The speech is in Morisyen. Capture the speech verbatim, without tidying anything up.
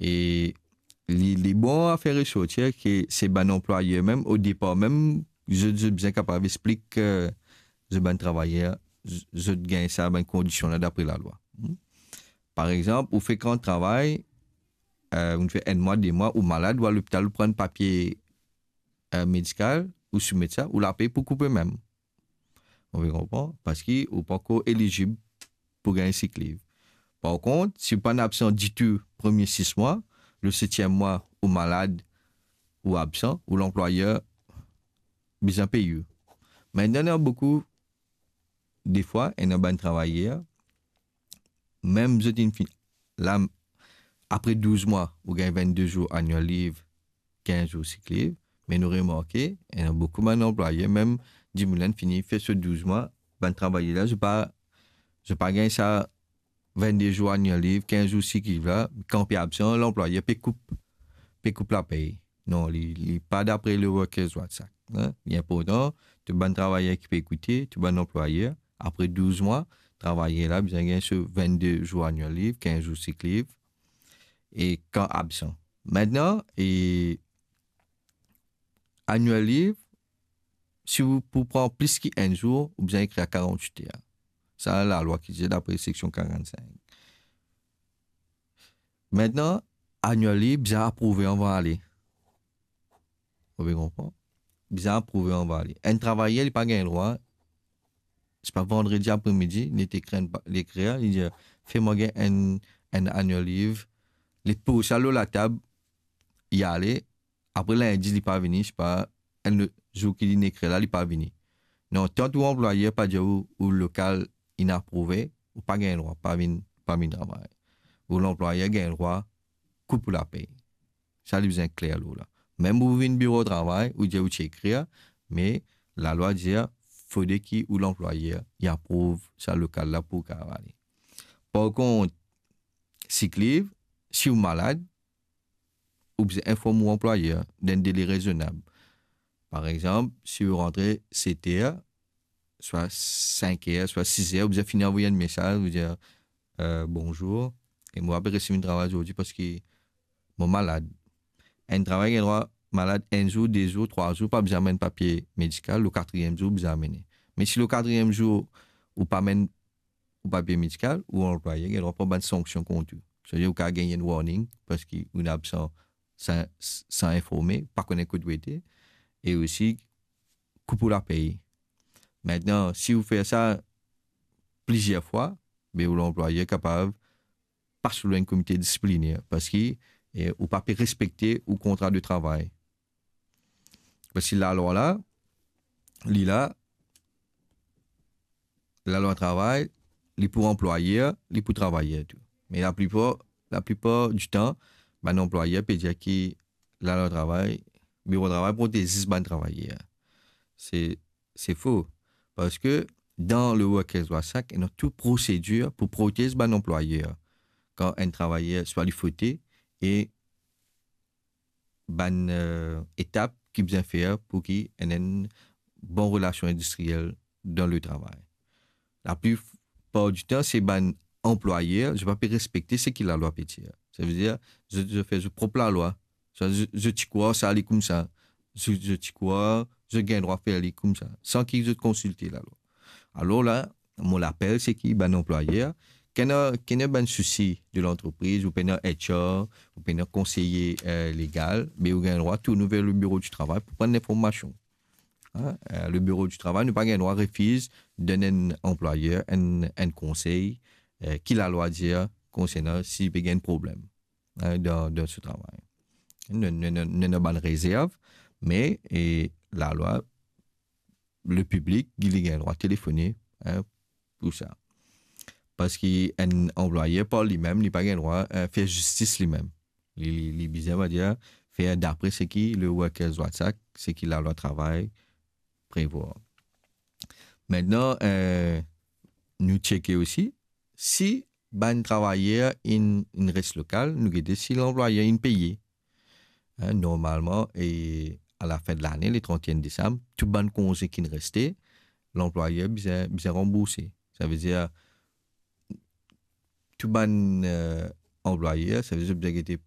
E li, li bon a fer resortir ki se bann anplwayer mem, o depar mem, zot, zot bizin kapav explik, eh, zot bann travayer, z-, zot gagn sa bann kondision la dapre lalwa. Hmm? Par exanp, ou fek rant travay, eh, ou fer enn mwa, de mwa, ou malad, ou al lopital, ou pran papie, eh, medikal, ou soumet sa, ou lapey pou koupe mem. Ou pe konpran? Parski ou pankor elizib pou gagn sick leave. Par kont, si ou pa'nn absan ditou premie sis mwa, le setiem mwa ou malad, ou absan, ou lanplwayer bizin pey ou. Mintnan, ena boukou, defwa, ena bann travayer, mem zot inn fini, la, apre douz mwa, ou gagn vennde zour annual leave, kinz zour sick leave, me nou remarke, ena boukou bann anplwayer, mem dimoun la inn fini fer so douz mwa, bann travayer la, zot pa, zot pa gagn sa vennde zour annual leave, kinz zour sick leave la, kan pe absan, lanplwayer pe koup, pe koup lapey. Non, li, li pa dapre le Workers' Rights Act, hein. Li inportan, tou bann travayer ki pe ekoute, tou bann anplwayer, apre douz mwa, travayer la bizin gagn so vennde zour annual leave, kinz zour sick leave, e kan absan. Mintnan, e annual leave, si ou pou pran plis ki enn zour, ou bizin ekrir karant-wit er. Sa, lalwa ki dir dapre seksion karannsink. Mintnan, annual leave bizin aprouve anvan ale. Ou pe konpran? Bizin aprouve anvan ale. Enn travayer, li pa gagn drwa, se pa vandredi apremidi, li ti ekrir enn pa-, li ekrir, li dir, "Fer mwa gagn enn, enn annual leave." Li poz sa lor latab, li ale, apre lindi, li pa vini, se pa enn lot zour ki li inn ekrir la, li pa vini. Non, tan ou anplwayer pa dir ou, ou lokal inn aprouve, ou pa gagn drwa, pa vinn, pa vinn travay. Ou lanplwayer gagn drwa koup ou lapey. Sa, li bizin kler lor la. Mem ou vinn biro travay, ou dir ou ti ekrir, me lalwa dir, fode ki ou lanplwayer, li aprouv sa lokal la pou ou kapav ale. Par kont, sick leave, si ou malad, ou bizin inform ou anplwayer dan enn dele rezonab. Par exanp, si ou rantre set er, swa sink er, swa sis er, ou bizin fini avoy enn mesaz, ou dir, eh, "Bonzour, e mo pa pe resi vinn travay zordi parski mo malad." Enn travayer gagn drwa malad enn zour, de zour, trwa zour, pa bizin amenn papie medikal, le katriem zour bizin amenn. Me si le katriem zour ou pa amenn ou papie medikal, ou anplwayer gagn drwa pran bann sanksion kont ou. Setadir ou kapav gagn enn warning parski ou inn absan san, san informe, pa kone kot ou ete, e osi koup ou lapey. Mintnan, si ou fer sa plizier fwa, be ou lanplwayer kapav pas ou lor enn komite disipliner parski, eh, ou pa pe respekte ou kontra de travay. Parski lalwa la, li la, lalwa travay, li pou anplwayer, li pou travayer tou. Me laplipar, laplipar ditan, bann anplwayer pe dir ki lalwa travay, biro travay protez zis bann travayer. Se, se fo. Parski dan le Workers' Rights Act, ena tou prosedir pou protez bann anplwayer kan enn travayer swa li fote e bann, eh, etap ki bizin fer pou ki ena enn bon relasion indistriel dan le travay. Laplipar ditan, se bann anplwayer, zot pa pe respekte seki lalwa pe dir. Savedir, zot, zot fer zot prop lalwa. Sa, zot, zot ti krwar sa ale koumsa. Zot, zot ti krwar zot gagn drwa fer li koumsa, san ki zot konsilte lalwa. Alor la, mo lapel se ki bann anplwayer, ki ena, ki ena bann sousi de lantrepriz, ou pena H R, ou pena konseye, eh, legal, be ou gagn drwa tourn ver le biro di travay pou pran linformasion. Hein, eh, le biro di travay, nou pa gagn drwa refiz donn enn anplwayer enn, enn konsey, eh, ki lalwa dir konsernan si li pe gagn problem, hein, dan, dan so travay. Nou, nou, nou, nou ena bann rezerv, me, e, lalwa, le piblik, li gagn drwa telefone, hein, pou sa. Parski enn anplwayer par limem, li pa gagn drwa, eh, fer zistis limem. Li, li, li bizin, on va dir, fer dapre seki le Workers' Rights Act, seki lalwa travay prevwar. Mintnan, eh, nou tcheke osi, si bann travayer inn, inn res lokal, nou gete si lanplwayer inn peye. Hein, normalman, e a lafin de lane, le trantien desam, tou bann konze ki'nn reste, lanplwayer bizin, bizin ranbourse. Savedir, tou bann, eh, anplwayer, savedir zot bizin gete